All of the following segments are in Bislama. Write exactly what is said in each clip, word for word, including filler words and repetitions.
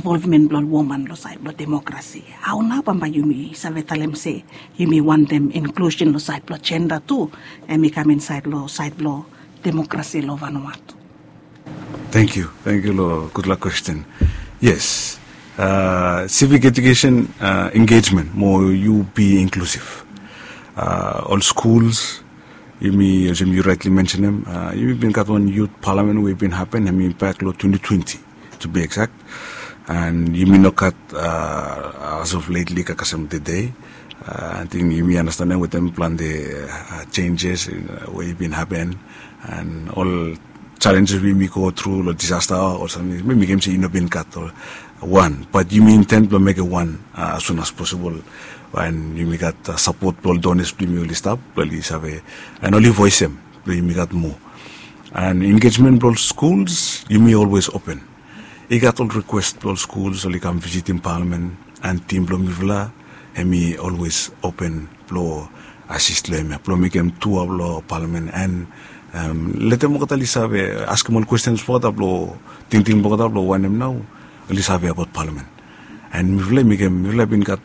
Involvement blong woman long sait blong demokrasi. Hao nao bambae yumi save talem se yumi wantem inklusen long sait blong jenda tu, em i kam insaet long sait blong demokrasi long Vanuatu? Thank you, thank you long gudlak kwesten. Yes, sivik ejukesen, engejmen mo yu bi inklusiv. Ol skuls, yumi olsem yu raetli mensenem, yumi bin gat wan yut palamen we i bin hapen, em i bak long twenti twenti, to be exact. And yumi no gat, as of lately, kasem tede. Ating yumi anastenem wetem plante jenjes we i bin hapen, and ol jalenjes we yumi go tru long disasta o samting, mi mekem se i no bin gat ol wan, bat yumi inten blong mekem wan as soon as possible. And yumi gat sapot blong ol donas blong yumi oli stap blong oli save, and oli voesem blong yumi gat moa. And engejmen blong ol skuls, yumi olwes open. I gat ol rikwes blong ol skuls oli kam visitim palamen, and tim blong mifala hem i olwes open blong asis long hemia blong mekem tua blong palamen, and letem olgeta oli save askem ol kwestens blong olgeta blong tingting blong olgeta blong wanem nao oli save abaot palamen. And mifala i mekem, mifala i bin gat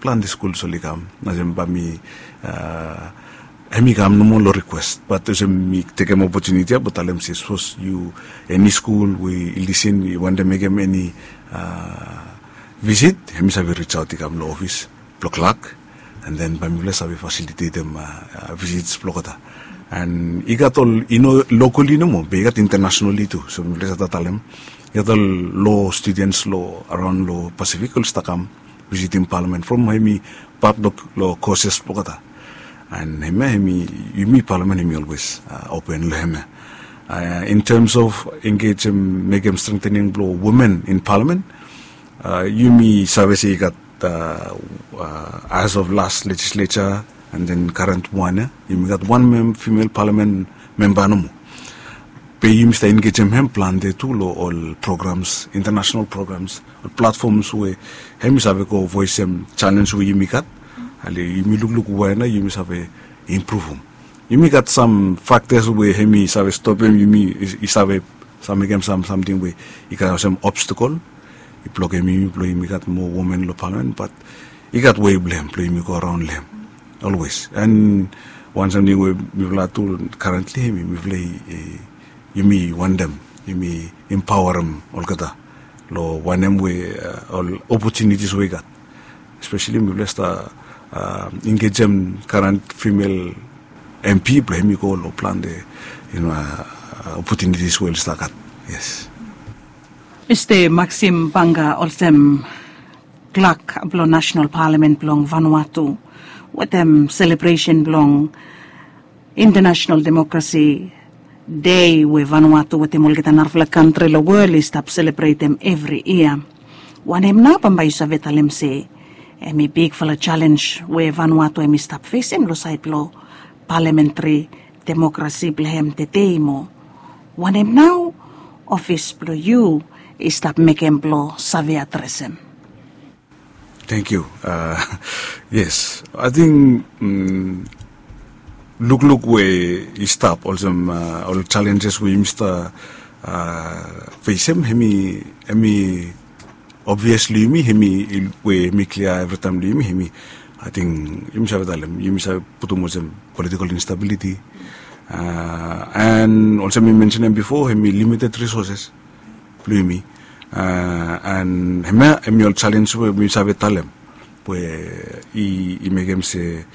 plante skuls oli kam, olsem bae mi, hem i kam nomo long rikwes, bat olsem mi tekem opotuniti ya blong talem se sapos yu, eni skul we i lisin, i wantem mekem eni visit, hem i save risaot i kam long ofis blong klak, and then bae mifala save fasilitetem visits blong olgeta. And i gat ol, i no lokali nomo, be i gat intanasenali tu, so mifala save talem i gat ol lo studens long araon long Pasifik oli stap kam visitim palamen from hem i pat long koses blong olgeta. And hemia hem i, yumi palamen hem i olwes open long hemia. In terms of engejem, mekem strengthening blong women in palamen, yumi save se i gat, as of last legislature and then current wan ya, yumi gat wan mem, female palamen memba nomo. Be yumi stap engejem hem plante tu long ol programs, intanasenal programs, ol platfoms we hem i save go voesem jalenj we yumi gat, ale yumi lukluk wae nao yumi save impruvum. Yumi gat sam faktas we hem i save stopem yumi i save save mekem sam samting we i gat olsem obstakol i blokem yumi blong yumi gat moa women long palamen, bat i gat wei blong hem blong yumi go araon long hem olwes. And wan samting we mifala tu karentli hem i mifala i, yumi wantem yumi empaoarem olgeta long wanem we ol opotunitis we i gat. Espeseli mifala stap engejem karent female M P blong hem i go long plante, you know, opotunitis we oli stap gat. Yes. Mista Maxim Banga, olsem klak blong Nasenal Palamen blong Vanuatu, wetem selebresen blong Intanasenal Demokrasi Dei we Vanuatu wetem olgeta narafala kantri long wol i stap selebretem evri yia, wanem nao bambae yu save talem se hem i bigfala jalenj we Vanuatu hem i stap fesem long saed blong palamentri demokrasi blong hem tede mo wanem nao ofis blong yu i stap mekem blong save adresem? Thank you. Yes, ating lukluk we i stap olsem ol jalenjes we yumi stap fesem, hem i obvious long yumi, hem i we hem i klia evritaem long yumi, hem i, ating yumi save talem, yumi save putum olsem politikol instabiliti, and olsem mi mensenem bifo, hem i limited risoses blong yumi. And hemia hem i ol jalenj we mi save talem we i mekem se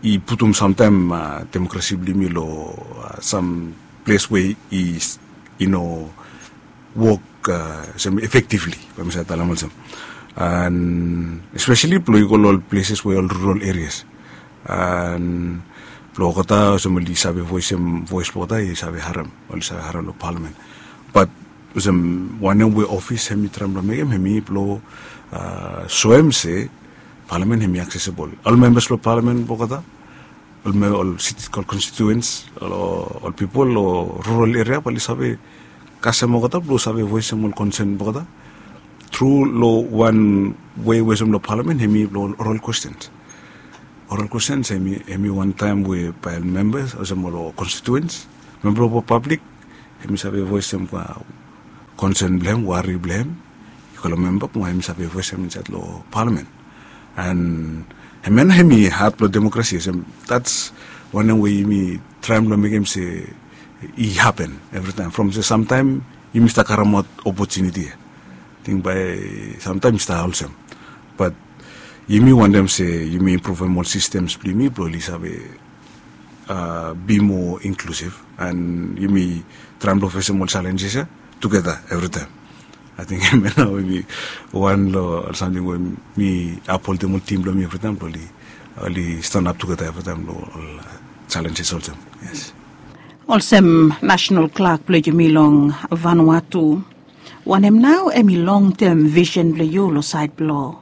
i putum samtaem demokrasi blong yumi long sam ples we i no wok olsem efektivli, bae mi save talem olsem. And espeseli blong i go long ol pleses we ol rural erias, and blong olgeta olsem oli save voesem voes blong olgeta, i save harem, oli save harem long palamen. Bat olsem wanem we ofis hem i traem blong mekem, hem i blong soem se palamen hem i aksesibol, ol membas blong palamen blong olgeta, ol siti, ol konstituens, ol pipol long rural eria bae oli save kasem olgeta blong save voesem ol konsen blong olgeta tru long wan wei we olsem long palamen, hem i blong oral kwestens. Oral kwestens hem i wantaem we bae ol membas olsem ol konstituens, memba blong pablik, hem i save voesem konsen blong hem, wari blong hem, yu go long memba mo hem i save voesem insaed long palamen. And hemia nao hemi hat blong demokrasi, olsem that's wanem we yumi traem blong mekem se i hapen evritaem from se samtaem yumi stap karemaot opotuniti ya. Ting bae samtaem i stap olsem, bat yumi wantem se yumi impruvem ol sistems blong yumi blong oli save be more inclusive, and yumi traem blong fesem ol challenges ya tugeta evritaem. Ating hemia nao hemi wan long ol samting we mi apholdim ol tim blong mi evritaem blong oli stanap tugeta evritaem long ol challenges olsem. Yes. Olsem nasenal klak blong yumi long Vanuatu, wanem nao hemi longtem visen blong yu long saed blong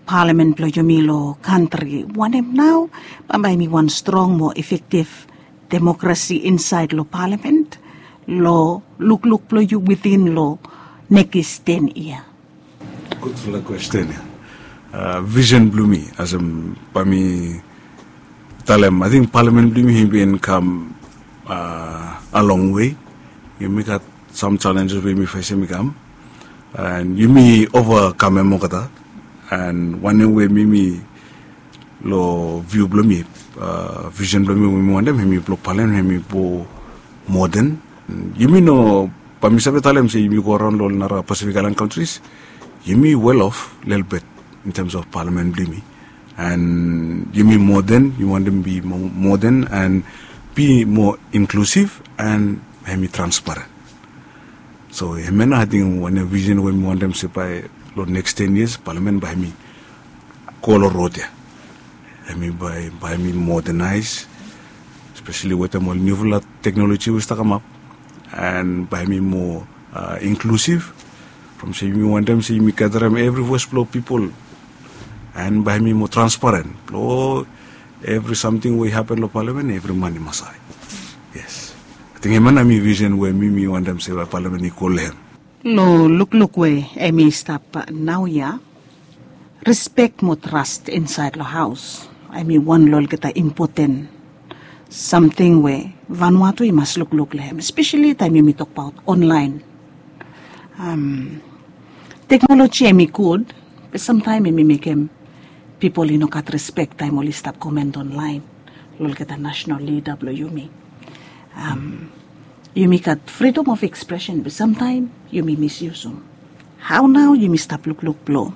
palamen blong yumi long kantri? Wanem nao bambae hemi wan strong mo efektif demokrasi insaed long palamen long lukluk blong yu witin long nekis ten yia? Gudfala kwesten ya. Visen blong mi olsem bae mi talem, ating palamen blong yumi hemi bin kam a long wei. Yumi gat sam challenges we yumi fesem i kam, and yumi ovakamem olgeta. And wanem we mi mi long viu blong mi, visen blong mi we mi wantem hemi blong palamen hemi blong moden. Yumi no, bae mi save talem se yumi go araon long ol nara Pacific Island countries, yumi well off lelebet in terms of palamen blong yumi. And yumi moden, yumi wantem bi moden and bi more inclusive and hemi transparent. So hemia nao ating wanem visen we mi wantem se bae long next ten years palamen bae hemi go long rod ya. Hemi bae hemi modernaes, espeseli wetem ol niufala teknoloji we i stap kamap, and bae hemi more inclusive from se yumi wantem se yumi gatarem evri voes blong pipol, and bae hemi more transparent blong evri samting we i hapen long palamen evri man i mas hae. Yes. Ating hemia nao hemi visen we mi mi wantem se bae palamen i go long hem. Long lukluk we hemi stap naoia, rispek mo tras insaed long haos hemi wan long olgeta impoten samting we Vanuatu i mas lukluk long hem, espeseli taem yumi tokbaot onlaen. Teknoloji hemi gud, be samtaem hemi mekem pipol i no gat rispek taem oli stap komen onlaen long olgeta nasenal lida blong yumi. Yumi gat fridom of ekspresen, be samtaem yumi misyusum. Hao nao yumi stap lukluk blong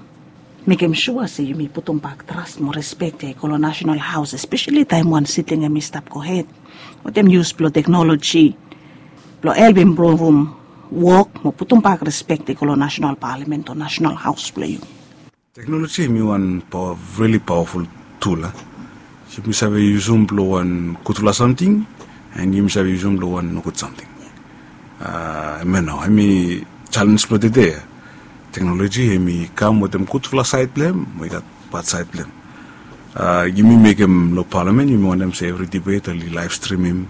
mekem sua se yumi putumbak tras mo rispek ya i go long nasenal haos, espeseli taem wan siting hemi stap gohed, wetem yus blong teknoloji blong helpem impruvum wok mo putumbak rispek ya i go long nasenal palamen o nasenal haos blong yu? Teknoloji hemi wan rili pawaful tul ya. Yumi save yusum blong wan gudfala samting, and yumi save yusum blong wan nogud samting. Hemia nao hemi jalenj blong tede ya. Teknoloji hemi kam wetem gudfala saed blong hem mo i gat bad saed blong hem. Yumi mekem long palamen, yumi wantem se evri dibet oli laev strimim,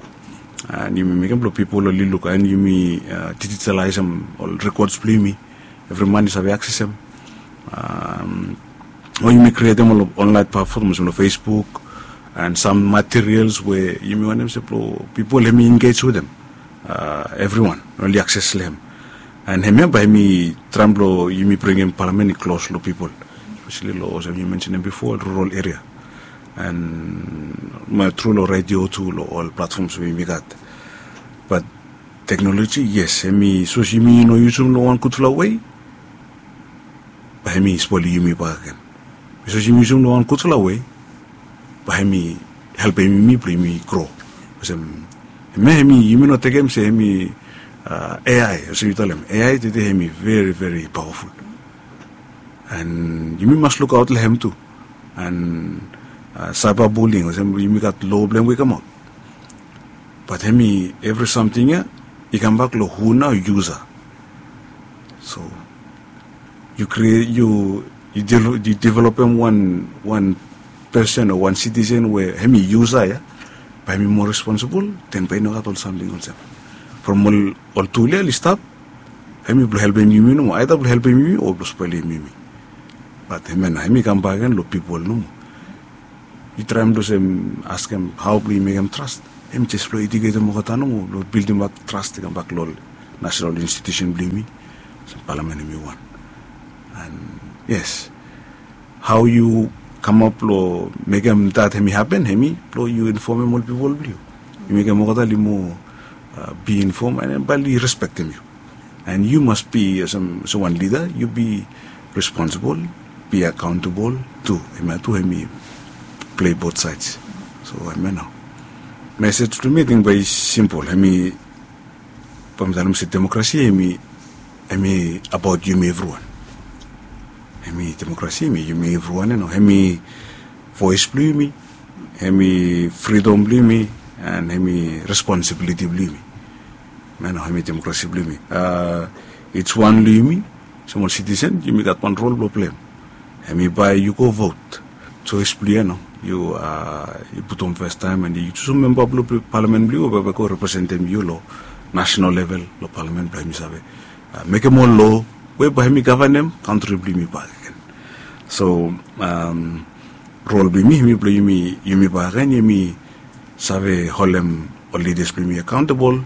and yumi mekem blong pipol oli luk, and yumi dijitalaesem ol rekods blong yumi, evri man i save aksesem. O yumi krietem ol onlaen platfom olsem long Facebook, and sam materials we yumi wantem se blong pipol hemi engej wetem, evriwan oli akses long hem. And hemia bae hemi traem blong yumi bringim palamen i klos long pipol, espeseli long olsem yu mensenem bifo, rural eria, and tru long redio tu, long ol platfoms we yumi gat. Bat teknoloji, yes, hemi sapos yumi no yusum long wan gudfala wei, bae hemi spoelim yumi bakegen. Be sapos yumi yusum long wan gudfala wei, bae hemi helpem yumi blong yumi gro. Olsem, hemia hemi, yumi no tekem se hemi A I, olsem yu talem, A I tede hemi veri veri pawaful. And yumi mas lukaot long hem tu. And cyber bullying, olsem yumi gat loa blong hem we i kamaot. Bat hemi evri samting ya i kambak long hu nao yusa. So yu kri- yu yu developem wan wan pesen o wan sitisen we hemi yusa ya, bae hemi moa responsibol, den bae i no gat ol samting olsem. From ol ol tul ya oli stap, hemi blong helpem yumi nomo, aeda blong helpem yumi o blong spoelim yumi. Bat hemia nao hemi kambak gen long pipol nomo. Yu traem blong olsem askem hao blong yu mekem tras, hemi jes blong ediketem olgeta nomo blong bildingbak tras i kambak long ol national institution blong yumi, olsem palamen hemi wan. And yes, hao yu kamap lo mekem dat hemi hapen, hemi lo yu infomem ol pipol blong yu. Yu mekem olgeta oli moa, uh, be informed, and bae oli respektem yu. And yu mas be olsem, olsem wan lida, yu be responsible, be accountable tu. Hemia tu hemi play both sides. So hemia nao. Message blong mi, ating bae i simple. Hemi, bae mi talem se demokrasi hemi, hemi abaot yumi evriwan. Hemi demokrasi hemi yumi evriwan ia nao. Hemi voes blong yumi, hemi fridom blong yumi, and hemi responsibiliti blong yumi. Ia nao, hemi demokrasi blong yumi. Uh, each wan long yumi, olsem ol citizen, yumi gat wan rol blong pleim. Hemi bae yu go vote. Joes blong yu ia nao. Yu, uh, yu putum fastaem and yu jusum memba blong palamen blong yu we bae i go representem yu lo national level lo palamen blong yumi save, uh, mekem ol loa we bae hemi gavanem kantri blong yumi bakegen. So, um, rol blong yumi, hemi blong yumi, yumi bakegen, yumi save holem ol lidas blong yumi accountable.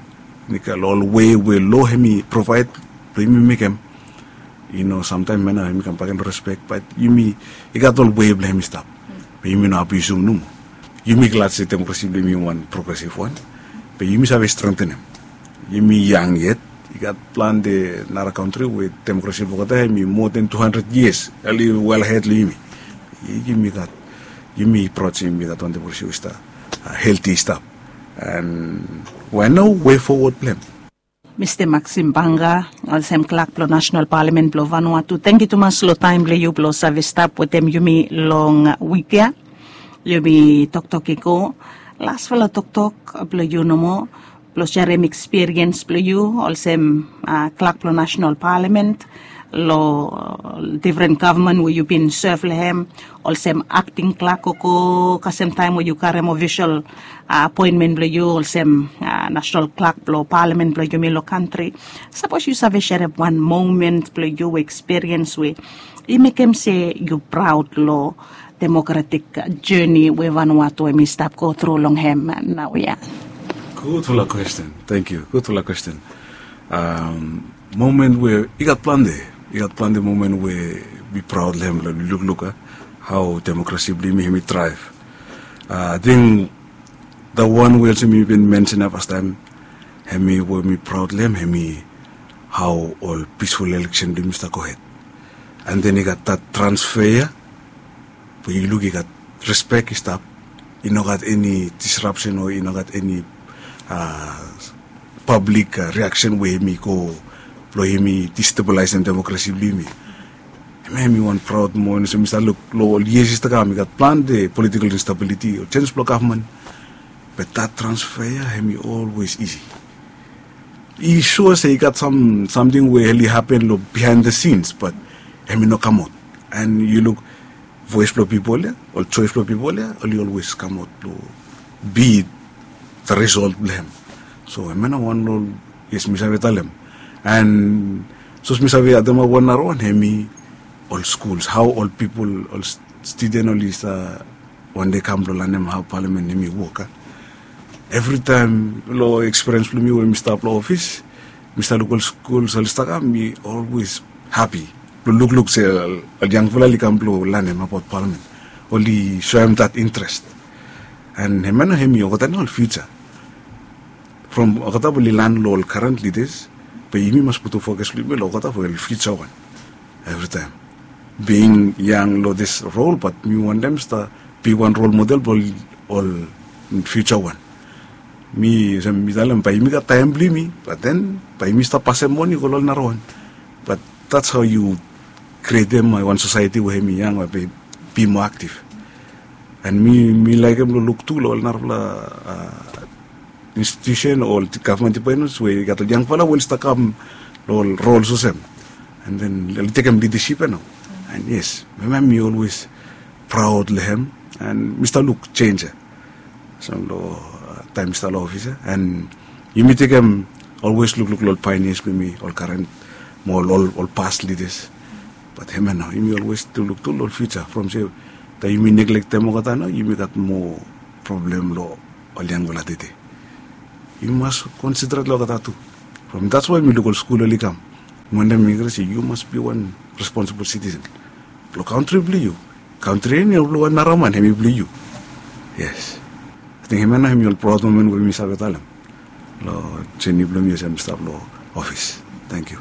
Nikel ol wei we loa hemi provaed blong yumi mekem. Yu no, samtaem ia nao hemi kam bakegen lo respek, bat yumi, i gat ol wei blong hemi stap. Be yumi no abiusum nomo. Yumi glad se demokrasi blong yumi wan progresiv wan. Be yumi save strengtenem. Yumi yang yet. I gat plante nara kantri we demokrasi blong olgeta hemi moa than two hundred years. Oli well ahead long yumi. Yumi gat, yumi praod se yumi gat wan demokrasi we i stap, uh, healthy i stap. And we nao wei fowod blong hem. Mista Maxim Banga, olsem klak blong National Parliament blong Vanuatu, tangkiu tumas lo taem blong yu blong save stap wetem yumi long wik ia. Yumi toktok i go. Lasfala toktok blong yu nomo, blong serem ekspiriens blong yu olsem, uh, klak blong National Parliament lo, uh, difren gavman we yu bin sev long hem, olsem akting klak o go kasem taem we yu karem ofisol, uh, apoenmen blong yu olsem, uh, nasenal klak blong palamen blong yumi lo kantri. Sapos yu save serem wan momen blong yu, ekspiriens we i mekem se yu praod lo demokratik jeni we Vanuatu hemi stap go tru long hem naoia. Gudfala kwesten. Tangkiu. Gudfala kwesten. Um, momen we, i gat plante, i gat plante momen we mi praod long hem, long lukluk, uh, hao demokrasi blong yumi hemi draev. Uh, ating the wan we olsem mi bin mensen ia fastaem, hemi we mi praod long hem, hemi hao ol pisful eleksen blong yumi stap gohed. And then i gat dat transfer ia, we yu luk i gat respek i stap. I no gat eni disrapsen o i no gat eni, uh, pablik, uh, riaksen we hemi go blong hemi destabilisem demokrasi blong yumi. Hemia hemi wan praod momen olsem mi stap luk lo ol yias i stap kam, i gat plante politikol instabiliti o jenj blong gavman. Be dat transfer ia hemi olwes isi. I sua se i gat sam, samting we oli hapen lo bihaen the scenes, bat hemi no kamaot. And yu luk voes blong pipol ia, ol joes blong pipol ia, oli olwes kamaot lo be the result blong hem. So hemia nao wan lo, yes, mi save talem. And sapos mi save ademap wan narawan, hemi ol skuls, hao ol pipol, ol student oli stap wan dei kam blong lanem hao palamen hemi wok, a. Evritaem lo ekspiriens blong mi we mi stap lo ofis, mi stap luk ol skuls oli stap kam, mi olwes hapi blong lukluk se ol, ol yangfala oli kam blong lanem abaot palamen. Oli soem dat intrest. And hemia nao hemi olgeta nao ol fiuja. From olgeta bae oli lan lo ol karen lidas, be yumi mas putum fokas blong yumi lo olgeta we ol fiuja wan. Evritaem. Being yang lo dis rol, bat mi wantem stap be wan rol model blong ol fiuja wan. Mi, olsem mi talem, bae yumi gat taem blong yumi, bat then bae yumi stap pasem moni go lo ol narawan. But that's how you krietem wan sosaeti we hemi yang, bae be moa aktiv. And mi, mi laekem lo luk tu lo ol narafala, uh, institusen o ol gavman dipatments we i gat ol yangfala we oli stap kam lo ol rols olsem. And then oli tekem lidasip ia nao. And yes, hemia mi olwes praod long hem. And mi stap luk jenj ia. So lo, uh, taem mi stap lo ofis ia. And yumi tekem, olwes lukluk lo ol paenias blong yumi, ol karen, mo ol, ol, ol pas lidas. Bat hemia nao, yumi olwes tu luk tu lo ol fiuja. From se taem yumi neglektem olgeta nao, yumi gat moa problem lo ol yangfala tede. Yumi mas concentrate lo olgeta tu. From that's why mi luk ol skul oli kam. Mi wantem mi kre se yu mas bi wan responsible citizen. Blong kantri blong yu. Kantri ya nao blong wan nara man, hem i blong yu. Yes. Ating hem ya nao hem i ol praod momen we mi save talem long jeni blong mi olsem mi stap long ofis. Tangkiu.